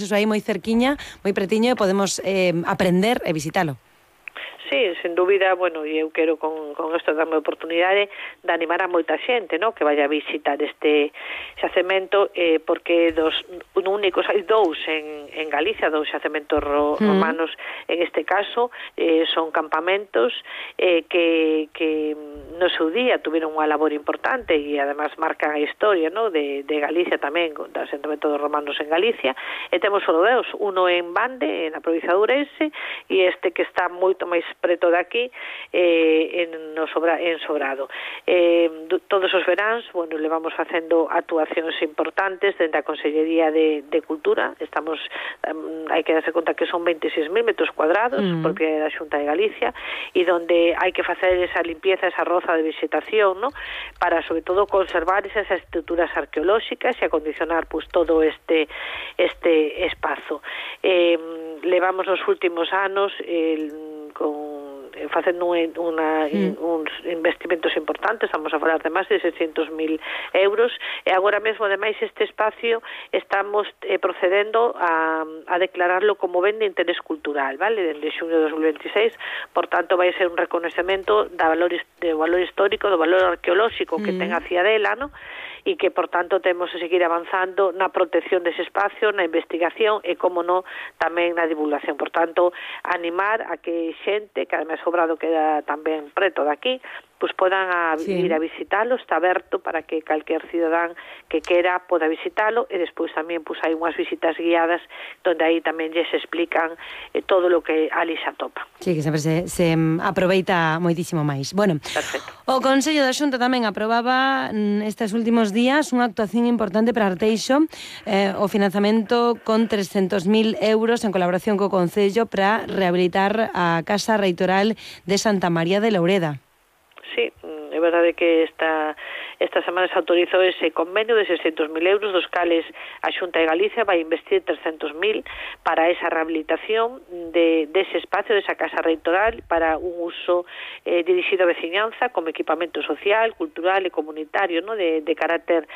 Eso aí moi cerquiña, moi pretiño, e podemos aprender e visitalo. Sí, sen dúbida, bueno, e eu quero con isto darme a oportunidade de animar a moita xente, no, que vaya a visitar este xacemento, porque únicos hai dous en Galicia, dous xacementos romanos, en este caso, son campamentos que no seu día tuviron unha labor importante e además marcan a historia, no, de Galicia tamén, do asentamento dos romanos en Galicia, e temos só dous, uno en Bande, na provincia de Ourense, e este que está moito máis preto de aquí, en Sobrado. Todos os veráns, bueno, levamos facendo actuacións importantes dentro da Consellería de Cultura. Estamos, hai que darse conta que son 26.000 metros cuadrados, propiedade da Xunta de Galicia, e donde hai que facer esa limpieza, esa roza de vegetación, ¿no?, para, sobre todo, conservar esas estruturas arqueolóxicas e acondicionar, pues, todo este espazo. Levamos nos últimos anos facendo uns investimentos importantes, estamos a falar de máis de 600.000 euros, e agora mesmo, ademais, este espacio estamos procedendo a declararlo como ben de interés cultural, vale, dende xuño de 2026, por tanto, vai ser un reconocemento do valor histórico, do valor arqueolóxico que ten a Ciadela, ¿no?, e que, por tanto, temos que seguir avanzando na protección dese espacio, na investigación e, como non, tamén na divulgación. Por tanto, animar a que xente, que ademais Sobrado queda tamén preto de aquí, pues podan ir a visitalo, está aberto para que calquer cidadán que quera poda visitalo, e despois tamén pues hai unhas visitas guiadas donde aí tamén lles explican todo o que ali se atopa. Sí, que sempre se aproveita moitísimo máis. Bueno, perfecto. O Consello da Xunta tamén aprobaba estes últimos días unha actuación importante para Arteixo, o financiamento con 300.000 euros en colaboración co Concello para rehabilitar a Casa Reitoral de Santa María de Loureda. Sí, é verdade que esta semana se autorizou ese convenio de 600.000 euros, dos cales a Xunta de Galicia vai investir 300.000 para esa rehabilitación dese espacio, desa casa reitoral, para un uso dirixido á veciñanza, como equipamento social, cultural e comunitario, ¿no?, de carácter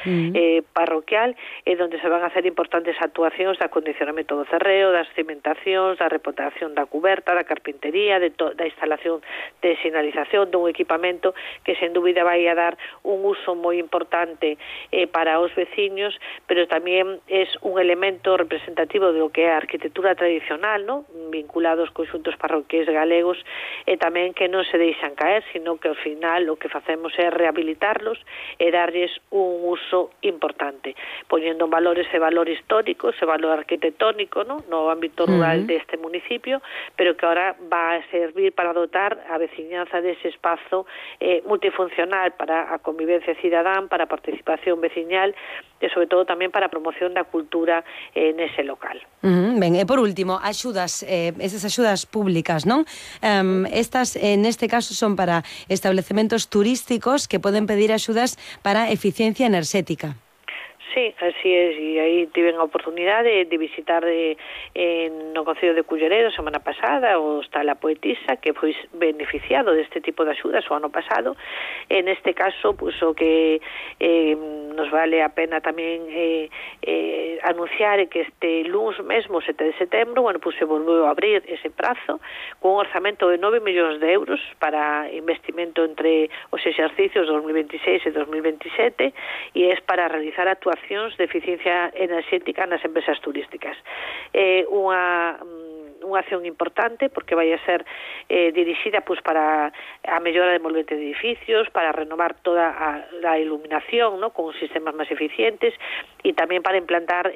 parroquial, donde se van a hacer importantes actuacións de acondicionamento do cerreo, das cimentacións, da reputación da cuberta, da carpintería, da instalación de sinalización, dun equipamento que sen dúbida vai a dar un uso moi importante para os veciños, pero tamén é un elemento representativo do que é a arquitectura tradicional, ¿no?, vinculados aos conxuntos parroquiais galegos, e tamén que non se deixan caer, sino que ao final o que facemos é rehabilitarlos e darlles un uso importante, poñendo en valor ese valor histórico, ese valor arquitectónico, ¿no?, no ámbito rural deste municipio, pero que ahora va a servir para dotar a veciñanza dese espazo multifuncional para a convivencia cidadán, para a participación veciñal e, sobre todo, tamén para a promoción da cultura nese local. Ben, e por último, axudas, esas axudas públicas, non? Estas, neste caso, son para establecementos turísticos que poden pedir axudas para eficiencia enerxética. Sí, así é, e aí tiven a oportunidade de visitar no Concello de Culleredo a semana pasada o Hostal A Poetisa, que foi beneficiado deste tipo de axudas o ano pasado. En este caso, pues, o que nos vale a pena tamén anunciar é que este luns mesmo, 7 de setembro, bueno, pues se volveu a abrir ese prazo con un orzamento de 9 millóns de euros para investimento entre os exercicios 2026 e 2027, e é para realizar actuacións de eficiencia enerxética nas empresas turísticas. Unha acción importante porque vai a ser dirixida pues, para a mellora de envolvente de edificios, para renovar toda a iluminación, ¿no?, con sistemas máis eficientes, e tamén para implantar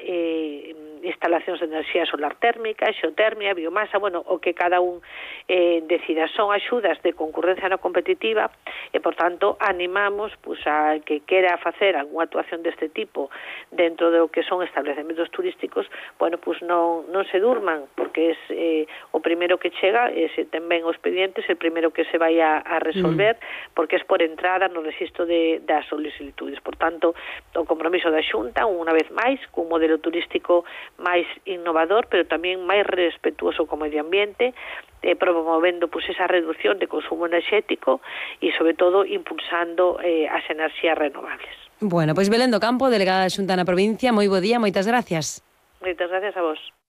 instalacións de enerxía solar térmica, xeotermia, biomasa, bueno, o que cada un decida. Son axudas de concurrencia non competitiva e, por tanto, animamos pues, a que quera facer algunha actuación deste tipo dentro do que son establecementos turísticos, bueno, pues non se durman, porque é o primeiro que chega, se ten ben os expedientes, el primeiro que se vai a resolver, porque é por entrada no registro das solicitudes. Por tanto, o compromiso da Xunta, unha vez máis, cun modelo turístico máis innovador, pero tamén máis respetuoso co medio ambiente, promovendo pues, esa reducción de consumo enerxético e, sobre todo, impulsando as enerxías renovables. Bueno, pois Belén do Campo, delegada da Xunta na provincia, moi bo día, moitas gracias. Moitas gracias a vos.